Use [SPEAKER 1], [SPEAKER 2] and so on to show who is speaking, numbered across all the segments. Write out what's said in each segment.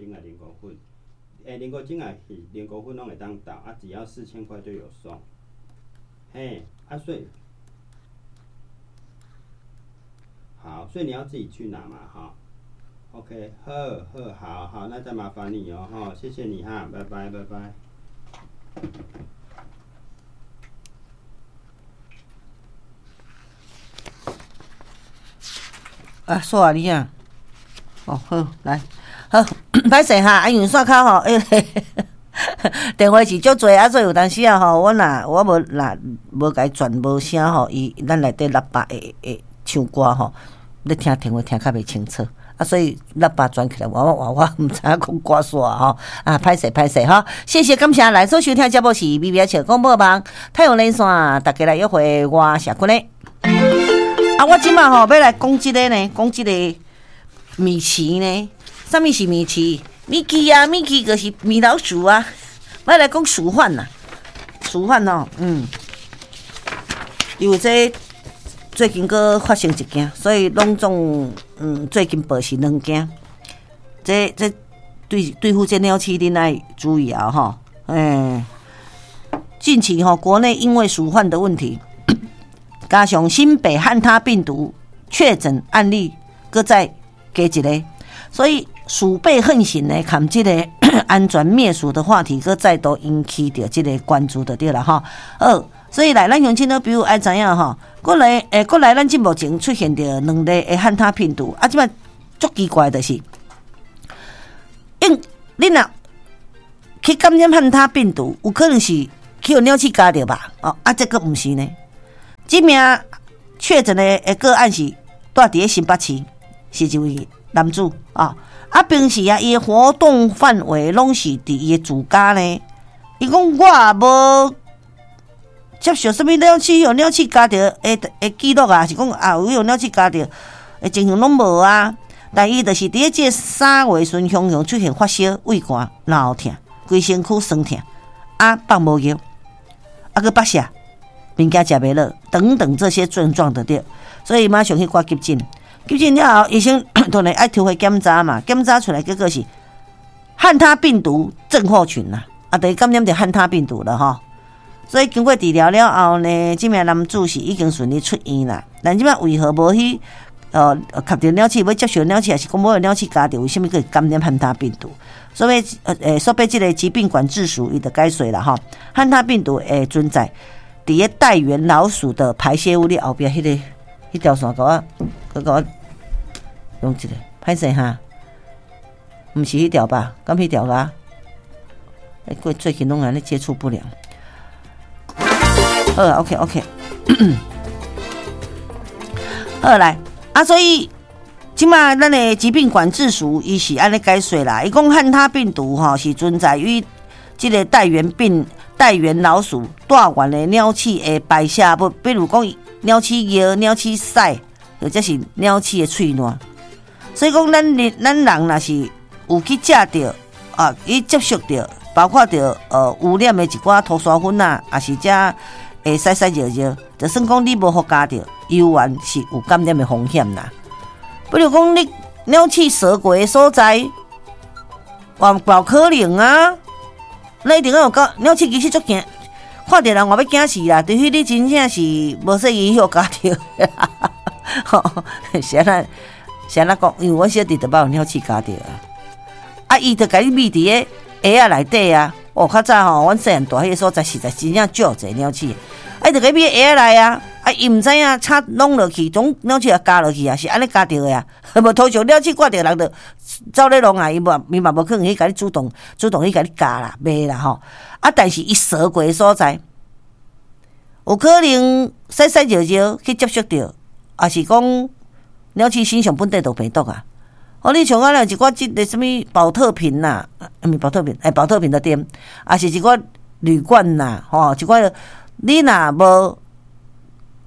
[SPEAKER 1] 精啊靈菇粉。欸，靈菇精啊是靈菇粉攏會當倒，啊，只要4000塊就有送。嘿，啊，所以好，所以你要自己去拿嘛，哈。OK，好，好，好，好，那再麻煩你哦，哈，謝謝你哈，拜拜，拜拜。
[SPEAKER 2] 啊，煞你啊！哦，好，來，好，歹勢哈，啊，因為線口吼，欸，電話是足濟啊，所以有當時啊吼，阮若我無若無共伊轉無聲吼，伊咱內底喇叭會會唱歌吼，咧聽電話聽較袂清楚啊，所以喇叭轉起來，我我我毋知影講歌煞吼，啊，歹勢歹勢吼，謝謝感謝來所收聽節目是微微笑廣播網太陽連線，大家來約會，我謝君咧。啊，我這馬吼欲來講這個呢，講這個米奇呢，啥物是米奇？米奇啊，米奇就是米老鼠啊。我來講鼠患啦，鼠患哦，因為這最近閣發生一件，所以攏總最近報是兩件。這這對對付這鳥鼠，恁愛注意啊吼，欸，近期吼國內因為鼠患的問題，加上新北漢他病毒確診案例，閣再加一個，所以鼠輩橫行呢，含這個安全滅鼠的話題，閣再度引起著這個關注就對了吼。好，所以來咱鄉親都比如愛知影吼，過來欸，過來咱這目前出現著兩例的漢他病毒，啊，這擺足奇怪就是，因你若去感染漢他病毒，有可能是去予鳥鼠咬著吧？哦，啊，這個毋是呢。這名確診的個案是住佇咧新北市，是一位男子啊。啊，平時啊，伊的活動範圍攏是佇伊的住家呢。伊講我也無接受啥物鳥鼠予鳥鼠咬著的的記錄啊，是講啊有予鳥鼠咬著的情形攏無啊。但伊就是佇咧這3月旬，雄雄出現發燒、胃寒、腦痛、規身軀酸痛，啊放無尿，啊閣腹瀉。物件食袂落，等等這些症狀就對，所以馬上去掛急診。急診了後，醫生當然愛抽血檢查嘛，檢查出來結果是漢他病毒症候群啦，啊，等於感染著漢他病毒了吼。所以經過治療了後呢，這名男子是已經順利出院啦。但這擺為何無去吸著鳥鼠，欲接受鳥鼠，還是講無予鳥鼠咬著？為啥物閣會感染漢他病毒？所以所以這個疾病管制署伊就解釋啦吼，漢他病毒會存在佇咧帶源老鼠的排泄物，你後壁彼個彼條線，共我，閣共我用一下，歹勢哈，毋是彼條吧？敢彼條啊？欸，過最近攏按呢接觸不良。好啊，OK OK。好來，啊，所以這馬咱的疾病管制署伊是按呢解釋啦，伊講漢他病毒吼是存在於這個帶源病。帶源老鼠帶源的鳥鼠的排泄物，比如講鳥鼠尿、鳥鼠屎，或者是鳥鼠的喙瀾。所以講，咱人若是有去食著啊，去接觸著，包括著污染的一寡塗沙粉啊，抑是遮會屎屎尿尿，就算講你無予咬著，猶原是有感染的風險啦。比如講，你鳥鼠踅過的所在，嘛有可能啊。那一定要有咬鳥鼠，其實足驚，看著人嘛欲驚死啦。除非你真正是無細心予咬著，吼，是按怎是按怎講？因為阮小弟就捌予鳥鼠咬著啊。啊，伊就共你覕佇个鞋仔內底啊。哦，較早吼，阮細漢蹛彼个所在，實在真正少濟鳥鼠。啊，伊就共你覕鞋仔內啊。啊，伊毋知影插弄落去，總鳥鼠也咬落去啊，是按呢咬著的啊。無通常鳥鼠掛著人就走咧弄啊，伊無伊嘛無可能去共你主動主動去共你咬啦，袂啦吼。啊，但是伊踅過的所在，有可能屎屎尿尿去接觸著，抑是講鳥鼠身上本底就有病毒啊。哦，你像啊，一寡這个啥物寶特瓶啦，毋是寶特瓶，欸，寶特瓶的店，抑是一寡旅館啦，吼，一寡你若無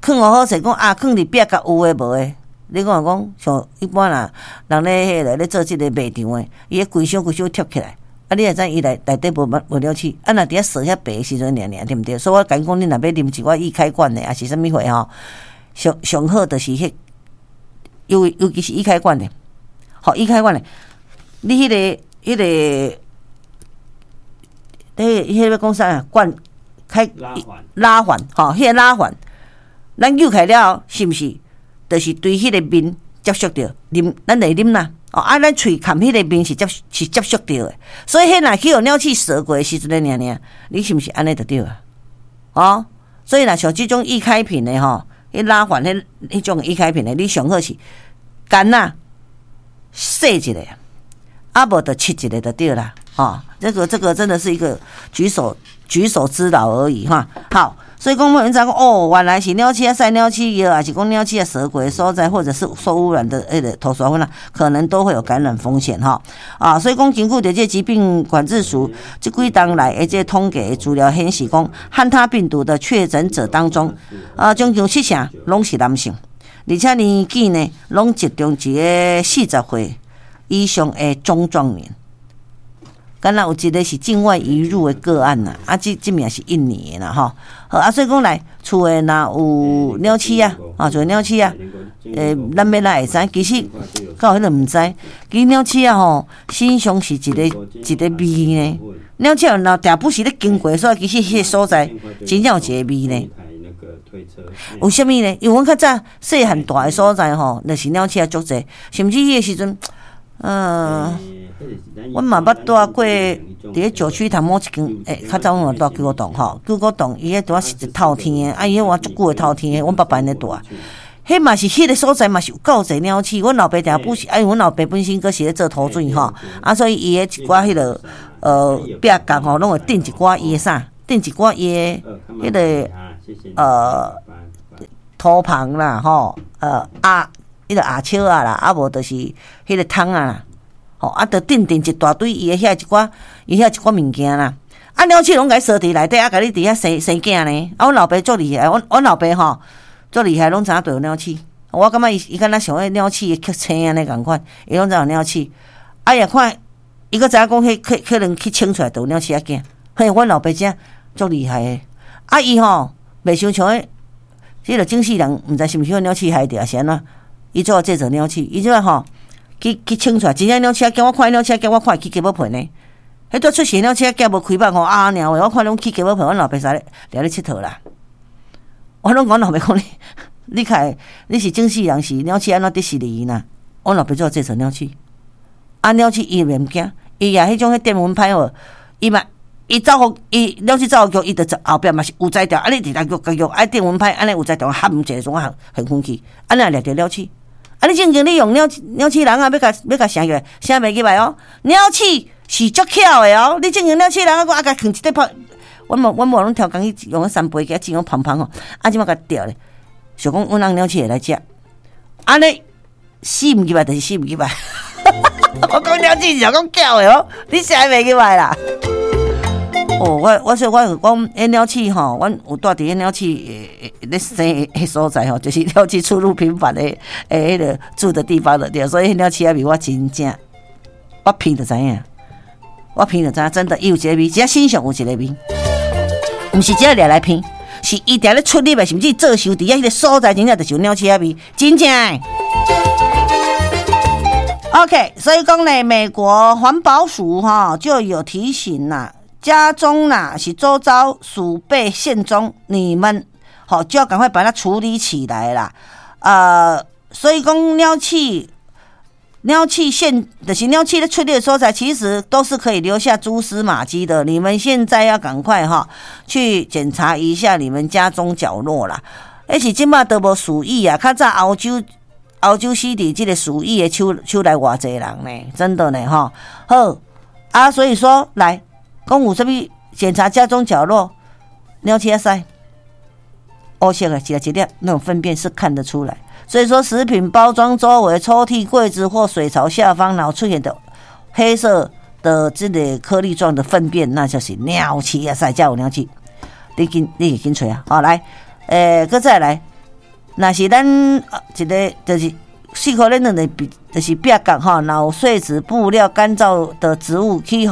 [SPEAKER 2] 囥好勢，講啊，囥佇壁角有的無的，你看講像一般啦，人咧彼个咧做這个賣場的，伊彼規箱規箱貼起來，啊，你會知伊內內底無無鳥鼠，啊，若佇遐踅遐白的時陣爾爾，對毋對？所以我共伊講，你若欲啉一寡易開罐的，抑是啥物貨吼，上上好就是彼，尤尤其是易開罐的，好易開罐的，你彼个彼个，彼个欲讲啥啊？灌开拉环吼，彼个拉环，咱扭开了后，是毋是？就是对彼个面接觸著，啉咱會啉啦。哦，啊，咱喙含彼個面是接觸著的，所以彼若去予鳥鼠踅過的時陣爾爾，你是毋是按呢就對啊？哦，所以若像這種易開瓶的吼，彼拉環彼種易開瓶的，你上好是乾仔洗一下，啊無就拭一下就對啦。吼，這個真的是一個舉手之勞而已哈。好，所以講阮知講哦，原來是鳥鼠仔屎鳥鼠尿，抑是講鳥鼠仔踅過的所在，或者是受污染的彼個塗沙粉啊，可能都會有感染風險哈。啊，所以講根據著這疾病管制署這幾冬來的這統計資料顯示，講漢他病毒的確診者當中，啊，將近七成攏是男性，而且年紀呢，攏集中佇咧40歲以上的中壯年。敢若有一個是境外移入的個案啦，啊，這名是印尼的啦吼。好啊，所以講來厝的若有鳥鼠啊，啊，厝的鳥鼠啊，咱欲來會知，其實敢有彼個毋知，其實鳥鼠仔吼，身上是一個一個味呢。鳥鼠若定不時咧經過，所以其實彼個所在真正有一個味呢。為啥物呢？因為阮較早細漢蹛的所在吼，就是鳥鼠仔足濟，甚至彼個時陣，阮嘛捌蹛過佇咧九曲堂某一間，較早阮嘛蹛九股洞吼，九股洞伊彼拄仔是一透天的，啊伊彼換足久的透天的，阮爸爸𪜶咧蹛，彼嘛是彼個所在嘛是有夠濟鳥鼠，阮老爸定不時，啊因為阮老爸本身閣是咧做塗水吼，啊所以伊的一寡彼個壁角吼，攏會釘一寡伊的啥，釘一寡伊的彼個塗棚啦吼，鴨彼個鴨笑仔啦，啊無就是彼個桶仔啦。吼，啊，就釘釘一大堆伊的遐一寡，伊遐一寡物件啦。啊，鳥鼠攏共伊踅佇內底，啊，共你佇遐生生囝呢。啊，阮老爸足厲害，阮老爸吼足厲害，攏知影著有鳥鼠。我感覺伊敢若像彼鳥鼠的青按呢仝款，伊攏知影有鳥鼠。啊，伊看，伊閣知影講，彼可能去清出來，就有鳥鼠仔囝。嘿，阮老爸真足厲害的。啊，伊吼袂傷像彼，這個整世人毋知是毋是予鳥鼠害著，抑是按怎？伊做製造鳥鼠，伊這吼。去清出來，真正鳥鼠仔囝，我看鳥鼠仔囝，我看會起雞母皮呢。彼拄出世鳥鼠仔囝無開腹吼啊爾話，我看攏起雞母皮，阮老爸踅咧掠咧𨑨迌啦。我攏講老爸講你，你較會你是整世人是鳥鼠按怎得死你啦？阮老爸做製造鳥鼠，啊鳥鼠伊袂驚，伊也彼種彼電蚊拍哦，伊嘛伊走予伊鳥鼠走予強，伊就後壁嘛是有才調，啊你直直共用啊電蚊拍，按呢有才調含一個種啊現粉去，按呢掠著鳥鼠。啊！你正經你用鳥鼠籠仔，欲共鎖起來，鎖袂入來哦。鳥鼠是足巧的哦。你正經鳥鼠籠仔，我啊共囥一塊泡，阮某攏超工去用三杯雞仔種芳芳吼，啊這擺共吊咧，想講阮翁鳥鼠會來食，按呢死毋入來就是死毋入來。我講鳥鼠是講巧的哦，你鎖袂入來啦。哦，我所以我就講，彼鳥鼠吼，阮有蹛佇彼鳥鼠咧生的所在吼，就是鳥鼠出入頻繁的彼個住的地方的對，所以彼鳥鼠仔味我真正，我聞就知影，我聞就知影，真的，伊有一個味，只身上有一個味，毋是只掠來聞，是伊定咧出入的，甚至做壽佇遐彼個所在，真正就是有鳥鼠仔味，真正的。OK，所以講咧，美國環保署哈就有提醒啦。家中啦是周遭鼠輩現蹤，你們好就要趕快把它處理起來啦。所以講鳥鼠，鳥鼠現就是鳥鼠咧出入的所在，其實都是可以留下蛛絲馬跡的。你們現在要趕快哈去檢查一下你們家中角落啦。彼是這馬都無鼠疫啊，較早歐洲死佇這個鼠疫的手內偌濟人呢，真的呢哈。好啊，所以說來。講有啥物檢查家中角落，鳥鼠仔屎，烏色的，一粒一粒那種糞便是看得出來。所以說，食品包裝周圍、抽屜、櫃子或水槽下方，然後出現的黑色的這個顆粒狀的糞便，那就是鳥鼠仔屎，才有鳥鼠。你緊，你去緊揣啊！好來，閣再來，若是咱一個就是四箍咧兩個壁，就是壁角吼，若有碎紙、布料、乾燥的植物去予。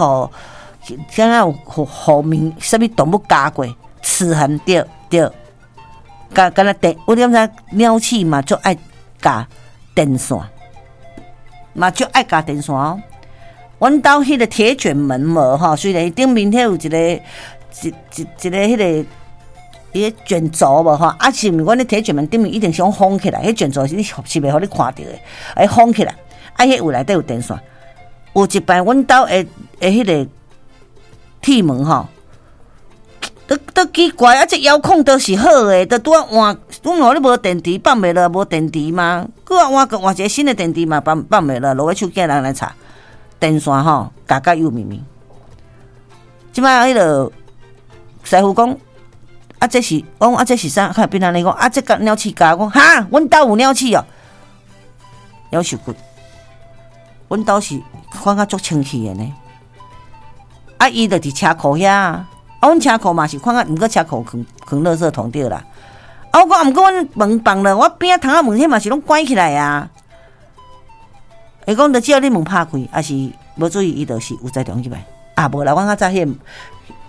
[SPEAKER 2] 敢若有予物，啥物動物咬過，齒痕對對，敢若電，我點知鳥鼠嘛足愛咬電線，嘛足愛咬電線哦。阮兜彼个鐵捲門無吼，雖然伊頂面彼有一個一一一個彼個伊個捲軸無吼，啊是毋是阮咧鐵捲門頂面一定是封起來，彼捲軸是你是袂予你看著的，愛封起來，啊，彼位內底有電線，有一擺阮兜的的彼個鐵門吼，都都奇怪啊！這遙控都是好的，都拄仔換，阮予你無電池放袂落，無電池嗎？閣啊換閣換一個新的電池嘛，放放袂落，落尾手叫人來插電線吼，咬甲幼咪咪。這擺彼个師傅講，啊，這是我講啊，這是啥？較變按呢講啊，這共鳥鼠咬，我講哈，阮兜有鳥鼠哦，夭壽骨，阮兜是看甲足清氣的呢。啊，伊就佇車庫遐啊，阮車庫嘛是看甲，毋過車庫囥囥垃圾桶對啦。啊，我講毋過阮門放了，我邊仔窗仔門彼嘛是攏關起來啊。伊講，就只要你門拍開，抑是無注意，伊就是有才動入來。啊，無啦，阮較早彼個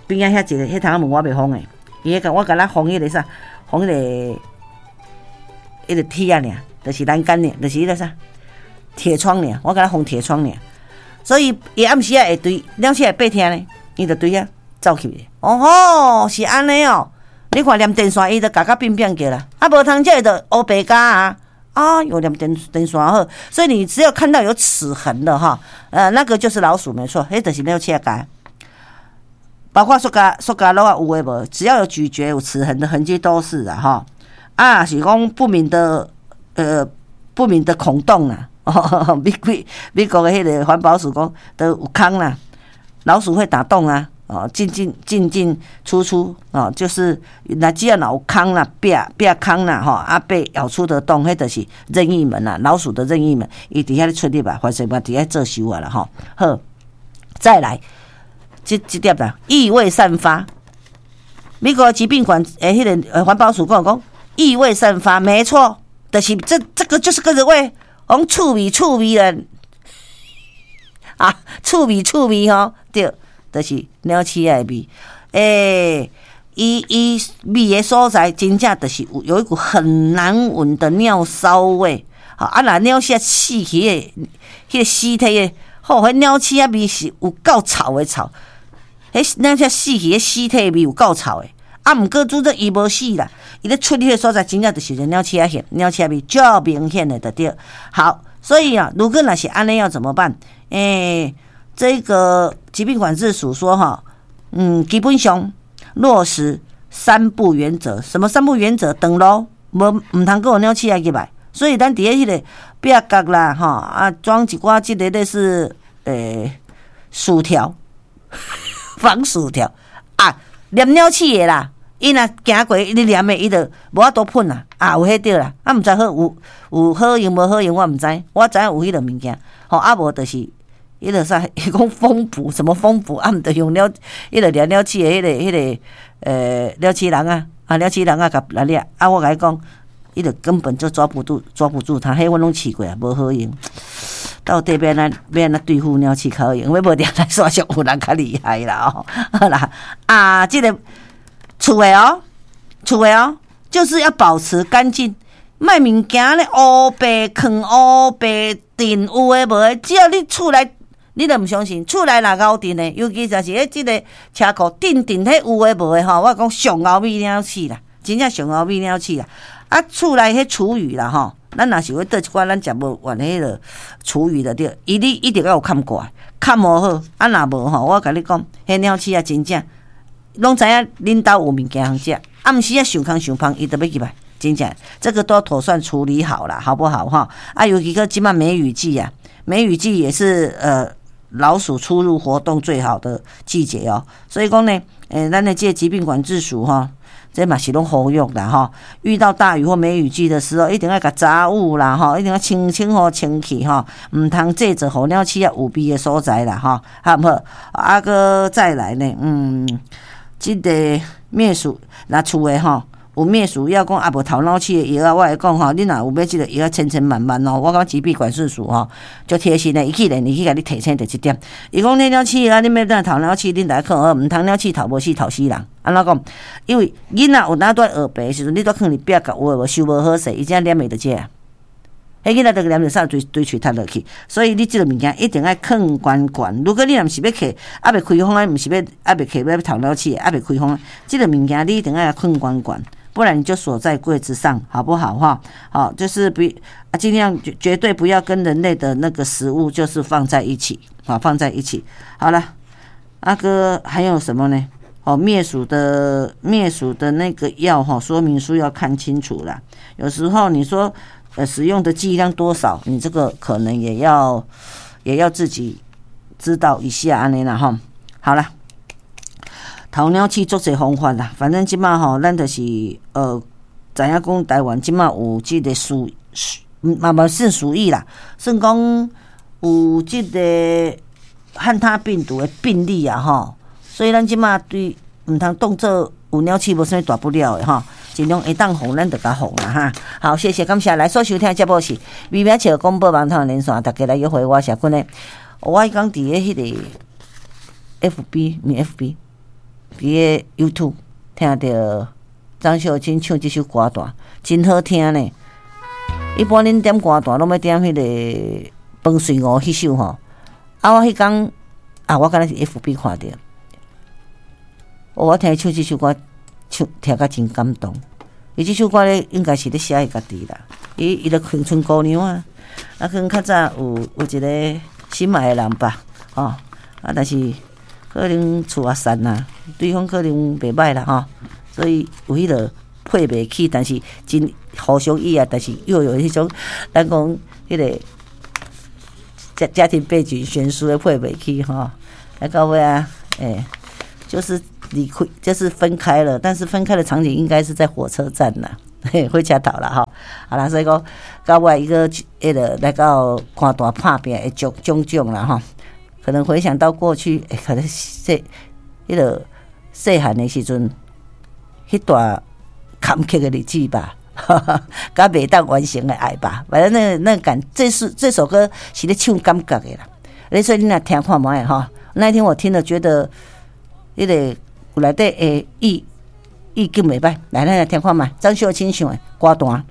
[SPEAKER 2] 邊仔遐一个彼窗仔門我袂封的，伊彼個我敢若封彼个啥，封彼个彼个鐵仔爾，就是欄杆爾，就是彼个啥鐵窗爾，我敢若封鐵窗爾。所以伊暗時仔會對鳥鼠會爬聽呢，伊就對遐走去。哦吼，是按呢哦。你看連電線伊都咬甲變變叫啦，啊無通這就烏白咬啊。啊，有連電電線好，所以你只要看到有齒痕的哈，那個就是老鼠沒錯，彼就是鳥鼠咬。包括塑膠塑膠橐仔有的無，只要有咀嚼有齒痕的痕跡都是啊哈。啊，是講不明的不明的孔洞啊。美國美國的彼个環保署講都有空啦，老鼠會打洞啊，哦，進進進進出出哦，就是那只要有空啦，壁壁空啦，吼啊被咬出的洞，彼就是任意門啦，老鼠的任意門，伊佇遐咧出入啊，反正嘛佇遐做秀啊啦吼。好，再來，這這點啦，異味散發。美國疾病管欸，彼个環保署講講異味散發，沒錯，就是這這個就是個味。講臭味臭味啦，啊，臭味臭味吼，對，就是鳥鼠仔的味。欸，伊伊味的所在，真正就是有有一股很難聞的尿騷味。好，啊，若鳥鼠仔死去的，彼個屍體的，吼，彼鳥鼠仔味是有夠臭的臭。彼鳥鼠死去的屍體味有夠臭的。啊，毋過主這伊無死啦，伊咧出去的所在，真正就是個鳥鼠仔現，鳥鼠仔味足明顯的就對。好，所以啊，如果若是按呢要怎麼辦？欸，這個疾病管制署說哈，基本上落實三不原則。什麼三不原則？斷路無毋通閣有鳥鼠仔入來。所以咱佇咧彼個壁角啦，吼啊，裝一寡這個類似鼠條，防鼠條啊，黏鳥鼠的啦。伊若行過，你黏的，伊就無法度噴啦。啊，有彼對啦，啊，毋知好有有好用無好用，我毋知。我知影有彼個物件，吼啊無就是彼個啥，伊講蜂捕什麼蜂捕，啊，毋著用鳥，彼個黏鳥鼠的彼個彼個鳥鼠籠仔，啊，鳥鼠籠仔共來掠。啊，我共你講，伊就根本就抓不住，抓不住它。彼阮攏試過啊，無好用。到底欲按怎欲按怎對付鳥鼠較好用？欲無定來煞上有人較厲害啦哦。好啦，啊，這個厝的哦，厝的哦，就是要保持乾淨，莫物件咧烏白囥烏白墊有的無的，只要你厝內，你著毋相信，厝內若𠢕陣的，尤其就是咧這個車庫頂頂彼有的無的吼，我講上𠢕味鳥鼠啦，真正上𠢕味鳥鼠啦。啊，厝內彼廚餘啦吼，咱若是欲倒一寡咱食無完彼个廚餘的對，伊你一定要有崁蓋，崁無好，啊若無吼，我共你講，彼鳥鼠仔真正攏知影恁兜有物件通食，暗時仔想空想芳，伊就欲入來，真正這個都妥善處理好啦，好不好哈？啊，尤其閣這擺梅雨季啊，梅雨季也是老鼠出入活動最好的季節哦，所以講呢，咱的這個疾病管制署哈，這嘛是攏呼籲啦吼，遇到大雨或梅雨季的時候，一定愛共雜物啦吼，一定要清清好清氣吼，毋通製造予鳥鼠仔有味的所在啦吼，好毋好？啊，閣再來呢，這個滅鼠若厝的吼，有滅鼠藥講啊無頭腦鼠的藥啊，我會講吼，你若有買這個藥仔千千萬萬哦，我感覺疾病管制署吼足貼心的，伊去連伊去共你提醒著這點。伊講你鳥鼠啊，你欲當頭鳥鼠，恁來看好，毋通鳥鼠頭無死頭死人。按怎講？因為囡仔有當蹛學白的時陣，你蹛囥佇壁角有的無收無好勢，伊才黏會著這。彼囡仔就黏著啥對對喙窒落去，所以你這个物件一定愛囥懸懸。如果你若毋是欲揢，猶未開封的，毋是欲猶未揢欲掏鳥鼠，猶未開封，這个物件你一定愛囥懸懸，不然你就鎖在櫃子上，好不好？哈，好，就是不啊，盡量絕絕對不要跟人類的那個食物就是放在一起，好，放在一起。好了，阿哥還有什麼呢？哦，滅鼠的那個藥哈，說明書要看清楚啦。有時候你說使用的劑量多少，你這個可能也要自己知道一下按呢啦哈。好了，偷鳥鼠足濟方法啦，反正這馬吼，咱就是知影講台灣這馬有這個鼠嘛嘛算鼠疫啦，算講有這個漢他病毒的病例啊吼。所以咱這馬對毋通當做有鳥鼠無啥物大不了的吼，盡量會當防咱就共防啦哈。好，謝謝，感謝來所收聽的節目是微微笑廣播網頭連線，大家來約會，我是阿君的。我彼工佇咧彼个 FB，毋是 FB，佇咧 YouTube 聽著張秀清唱這首歌單，真好聽呢。一般恁點歌單攏欲點彼个飯穗吳彼首吼，啊，我彼工啊，我敢若是 FB 看著。我聽伊唱這首歌，唱聽甲真感動。伊這首歌咧，應該是咧寫伊家己啦。伊伊著鄉村姑娘啊，啊，可能較早有一個心愛的人吧，吼啊，但是可能厝也散啦，對方可能袂䆀啦，吼，所以有彼个配袂起，但是真互相意啊，但是又有彼種咱講彼个家庭背景懸殊的配袂起吼，啊到尾啊，欸，就是離開，就是分開了，但是分開的場景應該是在火車站啦，嘿，火車頭啦吼。好啦，所以講到尾伊閣彼个來到看大拍拚的種種種啦吼，可能回想到過去，欸，可能細彼个細漢的時陣，彼段坎坷的日子吧，佮袂當完成的愛吧，反正那個感，這是這首歌是咧唱感覺的啦。所以你若聽看覓吼，那一天我聽了覺得，彼个內底的意意境袂䆀，來咱來聽看覓，張秀清唱的歌單。